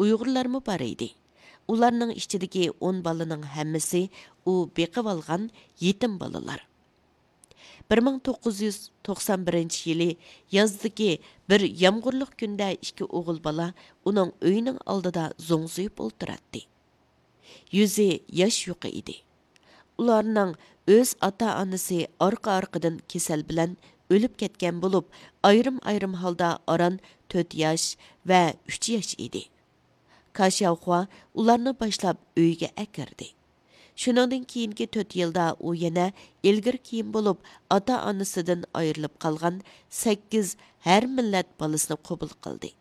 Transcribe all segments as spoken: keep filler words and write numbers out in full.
ئۇيغۇرلارمۇ بار ئىدى. ئۇلارنىڭ ئىچىدىكى ئون بالىنىڭ ھەممىسى ئۇ بېقىۋالغان يېتىم بالىلار. بىر مىڭ توققۇز يۈز توقسان بىرىنچى يىلى يازدىكى بىر يامغۇرلۇق كۈندە ئىككى ئوغۇل بالا ئۇنىڭ ئۆيىنىڭ ئالدىدا زوڭزىيىپ ئولتۇراتتى. يۈزى ياش يۇقى ئىدى. ئۇلارنىڭ ئۆز ئاتا-ئانىسى ئارقا-ئارقىدىن كېسەل بىلەن ئۆلۈپ كەتكەن بولۇپ، ئايرىم-ئايرىم ھالدا ئاران تۆت ياش ۋە ئۈچ ياش ئىدى. كاشياۋخۇا ئۇلارنى باشلاپ ئۆيىگە ئەكىردى. شۇنىڭدىن كېيىنكى تۆت يىلدا ئۇ يەنە ئىلگىرى كېيىن بولۇپ، ئاتا-ئانىسىدىن ئايرىلىپ قالغان سەككىز ھەر مىللەت بالىسىنى قوبۇل قىلدى.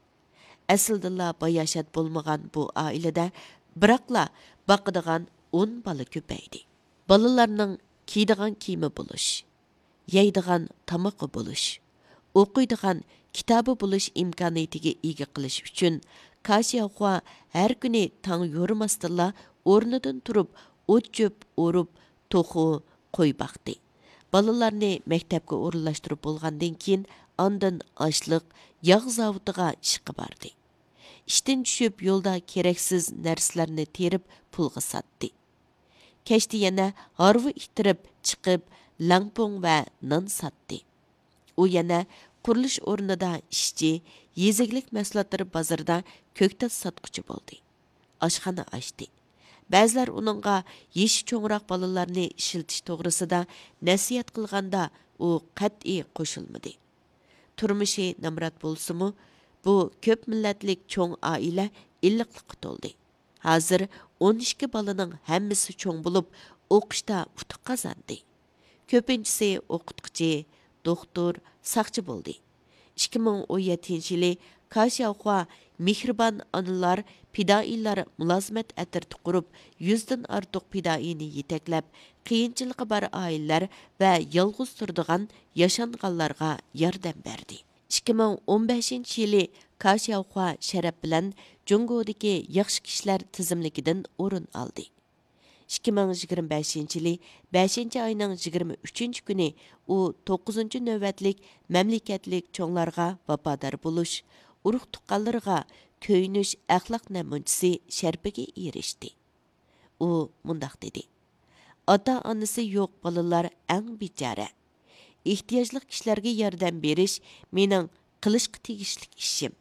ئەسلىدىنلا باياشات بولمىغان بۇ ئائىلىدە بىراقلا باقىدىغان ئون بالا كۆپەيدى. بالىلارنىڭ كىيىدىغان كىيىمى بولۇش، يەيدىغان تامىقى بولۇش، ئوقۇيدىغان كىتابى بولۇش ئىمكانىيىتىگە ئىگە قىلىش ئۈچۈن، كاشياۋخۇا ھەر كۈنى تاڭ يورۇماستىنلا ئورنىدىن تۇرۇپ، ئوت-چۆپ ئورۇپ، توخۇ، قوي باقتى. بالىلارنى مەكتەپكە ئورۇنلاشتۇرۇپ بولغاندىن كېيىن، ئاندىن ئاشلىق، ياغ زاۋۇتىغا ئىشقا باردى. ئىشتىن چۈشۈپ، يولدا كېرەكسىز نەرسىلەرنى تېرىپ، پۇلغا ساتتى. كەچتە يەنە ھارۋا ئىتتىرىپ چىقىپ، لەڭپۇڭ ۋە نان ساتتى. ئۇ يەنە قۇرۇلۇش ئورنىدا ئىشچى، يېزا ئىگىلىك مەھسۇلاتلىرى بازىرىدا كۆكتات ساتقۇچى بولدى. ئاشخانا ئاچتى. بەزىلەر ئۇنىڭغا يېشى چوڭراق بالىلارنى ئىشلىتىش توغرىسىدا نەسىھەت قىلغاندا، ئۇ قەتئىي قوشۇلمىدى. تۇرمۇشى نامرات بولسىمۇ، بۇ كۆپ مىللەتلىك چوڭ ئائىلە ئىللىقلىققا تولدى. ھازىر ئون ئىككى بالىنىڭ ھەممىسى چوڭ بولۇپ، ئوقۇشتا ئۇتۇق قازاندى. كۆپىنچىسى ئوقۇتقۇچى، دوختۇر، ساقچى بولدى. ئىككى مىڭ ئون يەتتىنچى يىلى كاشياۋخۇا مېھرىبان ئانىلار پىدائىيلار مۇلازىمەت ئەترىتى قۇرۇپ، يۈزدىن ئارتۇق پىدائىينى يېتەكلەپ، قىيىنچىلىقى بار ئائىلىلەر ۋە يالغۇز تۇرىدىغان ياشانغانلارغا ياردەم بەردى. ئىككى مىڭ ئون بەشىنچى يىلى كاشياۋخۇا شەرەپ بىلەن جۇڭگودىكى ياخشى كىشىلەر تىزىملىكىدىن ئورۇن ئالدى. ئىككى مىڭ يىگىرمە بەشىنچى يىلى بەشىنچى ئاينىڭ يىگىرمە ئۈچىنچى كۈنى ئۇ توققۇزىنچى نۆۋەتلىك مەملىكەتلىك چوڭلارغا ۋاپادار بولۇش، ئۇرۇق-تۇغقانلىرىغا كۆيۈنۈش ئەخلاق نەمۇنىچىسى شەرىپىگە ئېرىشتى. ئۇ مۇنداق دېدى: «ئاتا-ئانىسى يوق بالىلار ئەڭ بىچارە. ئېھتىياجلىق كىشىلەرگە ياردەم بېرىش مېنىڭ قىلىشقا تېگىشلىك ئىشىم.»